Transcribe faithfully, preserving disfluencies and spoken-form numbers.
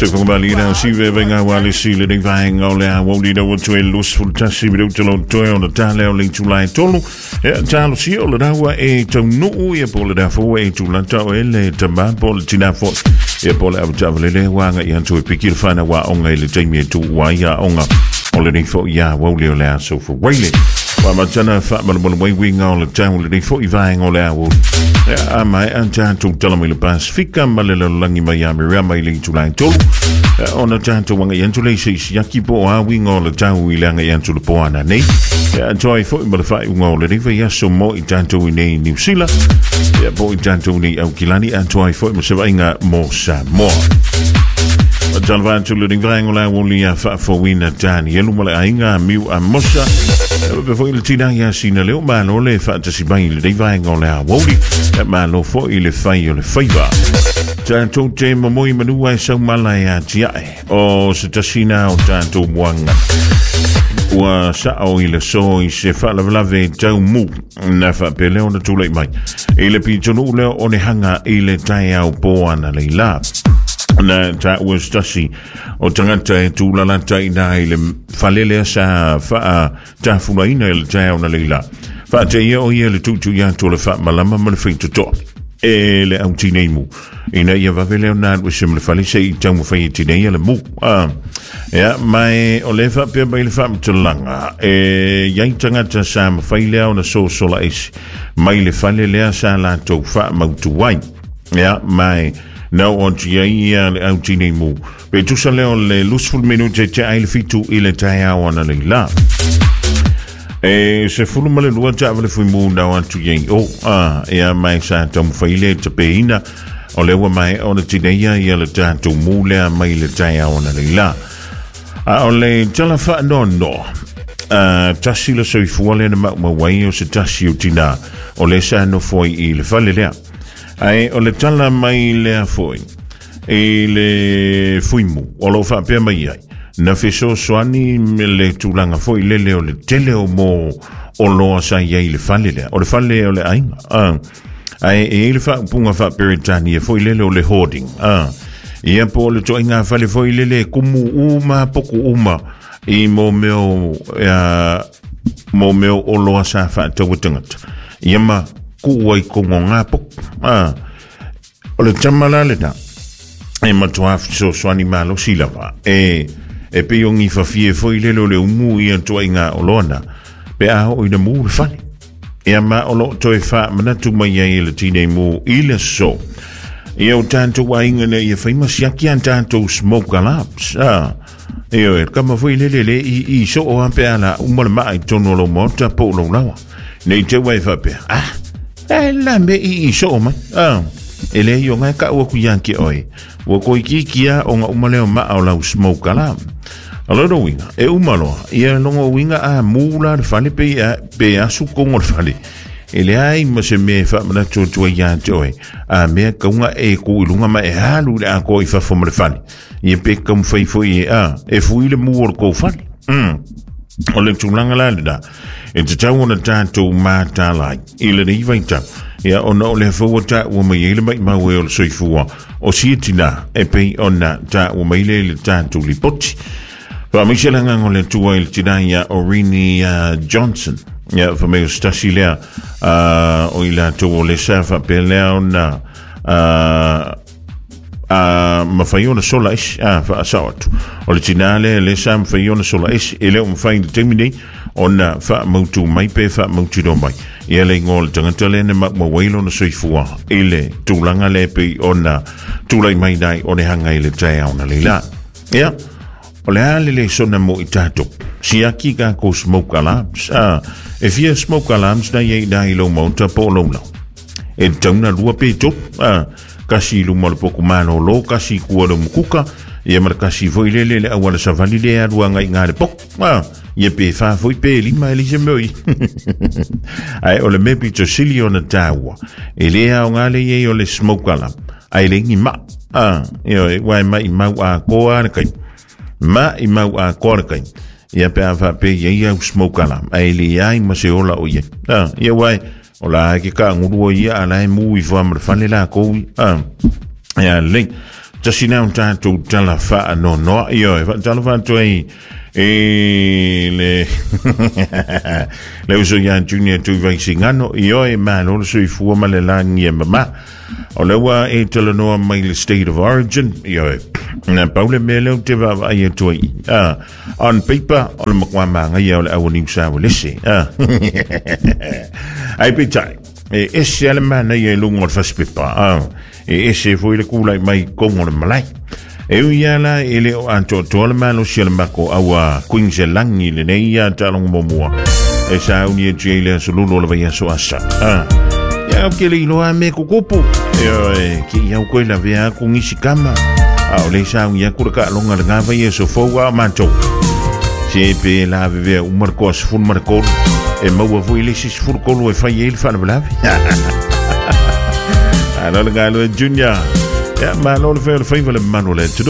Se whakamali si ve venga wale si le nei vaenga o le a wauli na watu e lus fultasi mi rauta lo toe o na tale o le tulai tolu. E talo si o le raua e taunuu ia po le rafo e tulata o ele tama po le tinafo. Ia po le awatawale le wanga i antu e piki le whana wa onga i le taimi e tu wa ia onga. O le nei fo ia wauli o le a sofa waile. Wa matana wha malamala waiwinga o le tau le nei fo i vaenga o le a wauli. A mai a tātou tala mai le Pasifika ma le lalagi mai a mirea mai le itulai tolu. Ona tātou wanga i antu le se isi aki po a winga o le tau i le anga i antu le poana nei. Ia toi foi ma le whai unga o le riwa ia so mo i tātou i nei New Zealand. Ia po i tātou nei Aukilani a toi foi ma se vainga mo Samoa. Talvantu le ringaingo la woli a faafouina Danielu ma le aiga miu a Mosa. Pe foi le tina ia sina leo malo le faatasi mai le ringaingo la woli. Malo foi le fai o le faiva. Tātou te momoi manua e saumala e atiae. O se tasina o tātou muanga. Ua sao i le so i se faalavelave tau mu na faapeleo na tulai mai. I le pitonu leo o le hanga i le taeao poana le la. Na ta ua stasi o tangata e tūlalata i nā i le falelea sa whaa tāfulaina i le taeao na leila. Whaa te ia o ia le tūtū ia tō le whaa malama ma le whitotoa. E le au tinei mu. Ina ia vave leo nā ua se ma le fale se i tau mwhai i tinei le mu. Ah. Ia, mai o le wha pia mai le wha mtalanga. E iai tangata sa mwhai leo na so sola esi. Mai le fale lea sa la tau wha mautuai. Ia, mai nau o tia ia le au tinei mu. Pe tusa leo le lusful minute te ai le fitu i le taeao ana le la. E se fulu ma le lua taava le fui mu nau atu iei o. Ah, ia mai sa taumawhai le te peina. O lewa mai o le tineia ia le tātou mu lea mai le taeao ana le la. A o le tala wha no no. Uh, tasi le soifua le na maumawai o se tasi o tina. O le sa no foi i le fale lea. Ai o le tala mai lea foi e le fuimu o lo whaapea mai ai. Na feso soani me le tūlanga foi lele o le tele o mō o loa sa iai le fale lea. O le fale o le ainga. Ah. Ai e le whaupunga whaaperetania foi lele o le hoarding. Ah. Ia po le toinga fale foi lele kumu uma poku uma i mō meo, uh, mō meo o loa sa whaataua tangata. Ia ma kuua i kongo ngā poku. Ah. O le tamala le na. E matua so soani malo silawa. E e pe yongi whawhie foi lele o le umu i antua i ngā oloana. Pe aho i na mū le fale. Ia ma o lo toe wha manatu mai ai le tinei mū i le so. Ia o tātou ainga ne ia whaima siaki an tātou smoke alarms. Ah. Ia e kama foi lele le i, i so o ampe ala umala maa i tono lo mota po lo lawa. Nei te wai whapea. Ah. E la me i i so o mai. Ah. E le io ngai ka ua ku ianki oi. Ua koi ki kia o ngā umaleo maa o lau smoke alarm. Alo winga, e umaloa, ia longo winga a mūla le fale pe, a, pe asu kongo le fale. E le ai ma se me wha mana tuatua ia te oe. A mea kaunga e ku ilunga ma e halu le a ko i whafo ma le fale. Ia pe kamu whai e a, e fui le mū o le kou fale. Mm. O le tūlanga la le da. E te tau ona tātou mātālai. I le nei vaitau. Ia ona o le whaua tā ua mai eile mai maue o le soifua. O siatina e pei ona tā ua mai le le tātou lipoti. Wha meise langa o le tua i le tina ia Orini uh, Johnson. Ia wha meo stasi lea uh, o i la tua o le sa wha pe lea ona uh, uh, mawhai ona sola isi. Ah, wha asao atu. O le tina le le sa mawhai ona sola isi. E leo mawhai le temi nei ona wha mautu mai pe wha mautu do mai. Ia le ingo le tangata le na maumawai na soifua. I le tūlanga le pe ona tūlai mai nai o le hanga i le taeao na leila. Ia. O le ale le sona mo i tātou. Siaki ka ko smoke alarms. Ah, e fia smoke alarms na iei nā i lau maunta po lau lau. E tauna lua pe tō. Ah, kasi luma le poku māno lo, kasi kua le mukuka. Ia mara kasi foi lele le awala savali le alua ngai ngā le poku. Ah, ia pe wha foi pe lima e lise moi. Ai o le mepi to sili o na tāua. E lea o ngā le iei o le smoke alarm. Ai le ngi ma. Ah, ia e wai mai mau a koa le kai. Ma i mau a koa kai. Ia pe a wha pe ia au smoke alarm. Ai le iai ma se ola o ia. Ah, ia wai o la ke ka ngurua ia ala e mu i wha ma le fale la koui. Ah, ia le. Tasi nau tātou tala wha no noa io e wha tala wha ai e le le uso ia Junior tu vai singano io e malo le soifua ma le lagi e mama o le ua e talanoa mai le state of origin io e na paule mea leo te vaavaai atu ai ah, on paper o le makuā magaia o le auaniu lese ah. Ai peitai e ese ale manaia i luga o le fasipepa ah. E ese foi le kula mai kongo le malai e ui ala e le o atoatoa le malosi o le mako aua Queensland lenei ia taalogo muamua e sauni e tia i le aso lulu o le vaiaso asa ah. Ia o ke le iloa me kukupu e oe ke iau koe lavea aku ngisi kama a o le sauni aku le kaaloga le gava ia so fou a o matou se pe la vevea uma le koa sefulu ma le kolu e maua foi le isi sefulu kolu e fai ai le faalavelave. Alo le galo e Junior. Ya malo le fai o le faiva le manu le